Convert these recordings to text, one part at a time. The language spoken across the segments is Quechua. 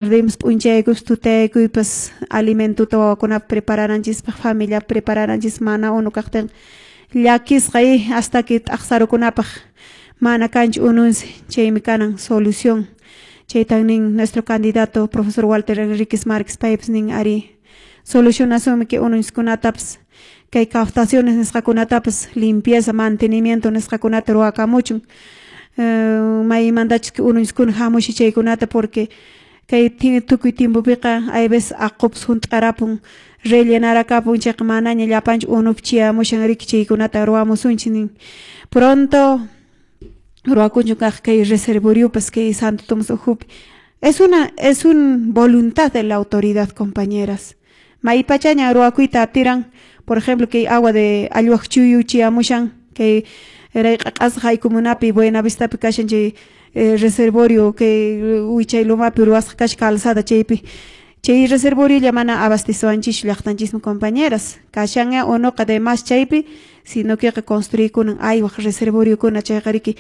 Perdemos p'unchaykus tutaykuypas alimentuta wawakunapaq preparananchispaq familiapaq preparananchispaq mana unu kaqtinqa llakisqa hasta que t'aqsarukunapaq mana kanchu ununsi chaymi kanan solución chaytan nin nuestro candidato profesor Walter Enríquez Márquez paypas nin ari solucionasunmi kay ununchiskunatapas kay captaciones nisqakunatapas limpieza mantenimiento nisqakunata ruwakamuchun maymantachus ununchiskuna hamushi chaykunata porque kay tukuy tiempopiqa hay veces aqupas hunt'arapun rellenarakapun chayqa manaña llapanchu unupi chiyamushan riki chaykunata ruwamusunchik nin pronto ruwakunchu kaq kay reservoriopas kay Santo Tomás ukhupi es un voluntad de la autoridad, compañeras. Maypachaña ruwakuyta atiran, por ejemplo, kay agua de allwaq chuyu chiyamushan kay rayq'aq'asqa haykumunapi Buenavistapi kashan chay reservorio kay wichay lumapi ruwasqa kashan calzada chaypi chay reservoriolla mana abasteciwanchis llaqtanchismi, compañeras. Kashanña unuqa de más chaypi, sino que construykunan aywaq reservoriokuna chayqa riki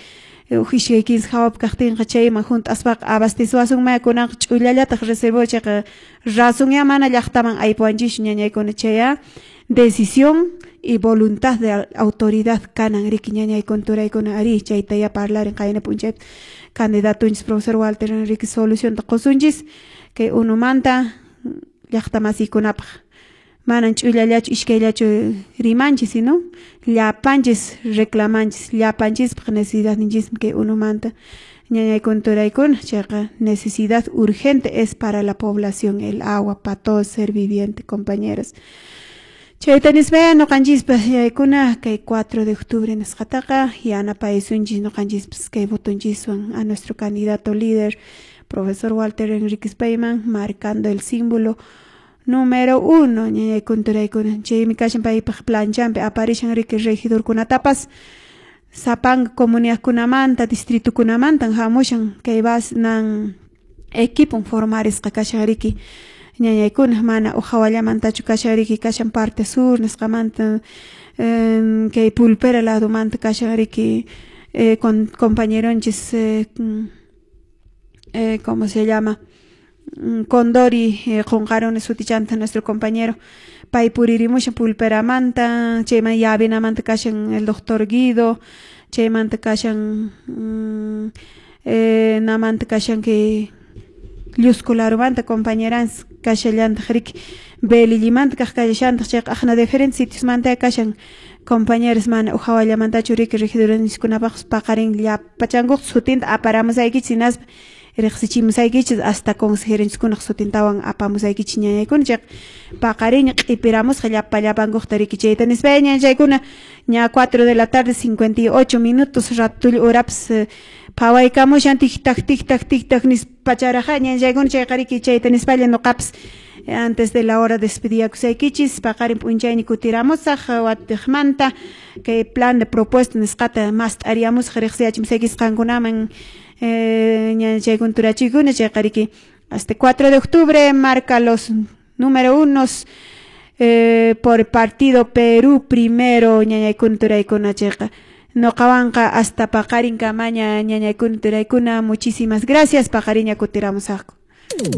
huk iskay 15 hawapi kaqtinqa chayman hunt'aspaqa abasteciwasunmaya kunanqa ch'ullallataq reservorio chayqa rasunya mana llaqtaman aypuwanchischu ñañaykuna chaya decisión y voluntad de autoridad kanan riki ñañaykuna turaykuna ari chayta ya parlarin qayna p'unchaypi candidatunchis profesor Walter Enrique solucionta qusunchis kay unumanta llaqta masiykunapaq manan ch'ullallachu iskayllachu rimanchis sino llapanchis reclamanchis llapanchispaq necesidadninchismi kay unumanta ñañaykuna turaykuna chayqa necesidad urgente es para la población el agua para todo ser viviente, compañeras. Chayta nispaya ñuqanchispas yaykuna kay 4 de octubre nisqataqa yanapaysunchis ñuqanchispas kay votonchiswan a nuestro candidato líder profesor Walter Enríquez payman marcando el símbolo número 1 ñañaykuna turaykuna chaymi kashan paypaq planchanpi aparishan riki regidorkunatapas sapanka comunidadkunamanta distritokunamantan hamushan kay nan equipon formarisqa kashan riki ñañaykuna mana uhawallamantachu kashan riki kashan parte sur nisqamanta kay pulpera ladomanta kashan riki con compañeronchis ¿cómo se llama? Condori qunqaruni sutichanta nuestro compañero pay puririmushan pulperamanta chayman yavinamanta kashan el doctor Guido chaymanta kashan namanta kashan kay Llusco larumanta compañerans kashallantaq riki Belillimanta kaq kallashantaq chayqa aqna diferentes sitiosmanta kashan compañeros mana uhawallamantachu riki regidorniskunapaqpas paqarin llapachankuq sutinta aparamusaykichis hinaspa riqsichimusaykichis hasta consejeronchiskunaq sutintawan apamusaykichis ñañaykuna chayqa paqariña q'ipiramusqa llapa llapankuqta riki chayta nispaya ñañaykuna ña 4 de la tarde 58 minutos ratulla horapas phawaykamushan tic-tac tic-tac tic-tac nispacharaqa ñañaykuna chayqa riki chayta nispalla ñuqapas antes de la hora despediyakusaykichis paqarin p'unchayni kutiramusaq watiqmanta kay plan de propuesta nisqata mast'ariyamusaq riqsiyachimusaykichis qankunaman ñañachaykuna turachiykuna chayqa riki hasta 4 de octubre marca los número unos por partido Perú primero ñañaykuna turaykuna chayqa ñuqawanqa hasta paqarin kamaña ñañaykuna turaykuna muchísimas gracias paqariña kutiramusaqku.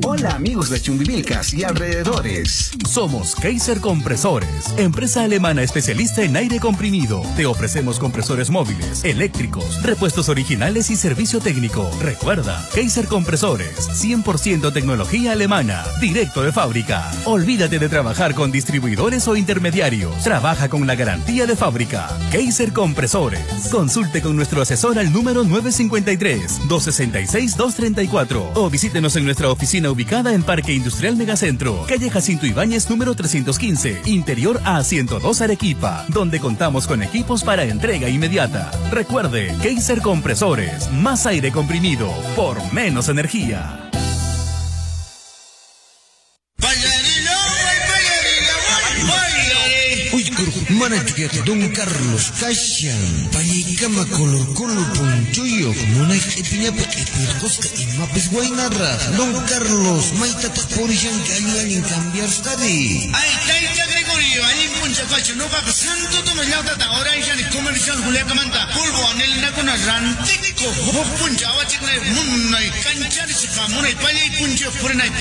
Hola amigos de Chumbivilcas y alrededores. Somos Kaiser Compresores, empresa alemana especialista en aire comprimido. Te ofrecemos compresores móviles, eléctricos, repuestos originales y servicio técnico. Recuerda, Kaiser Compresores, 100% tecnología alemana, directo de fábrica. Olvídate de trabajar con distribuidores o intermediarios. Trabaja con la garantía de fábrica. Kaiser Compresores. Consulte con nuestro asesor al número 953-266-234 o visítenos en nuestra oficina ubicada en Parque Industrial Megacentro, calle Jacinto Ibáñez número 315, interior A102 Arequipa, donde contamos con equipos para entrega inmediata. Recuerde, Kaiser Compresores, más aire comprimido, por menos energía. Don Carlos kashan pallaykama color color ponchuyuq munay q'ipiñapi q'ipirqusqa imapis waynaraq. Don Carlos maytataq purishanki allin allin cambiarsqari. Ay, tayta Gregorio. Churi, allin puncha kachu nuqaqa Santo Tomás llaqtata urayshani comercial Juliacamanta polvo anelinakuna rantikuq huk puncha awachiknay munay kancharisqa munay pallay punchayuq purinay.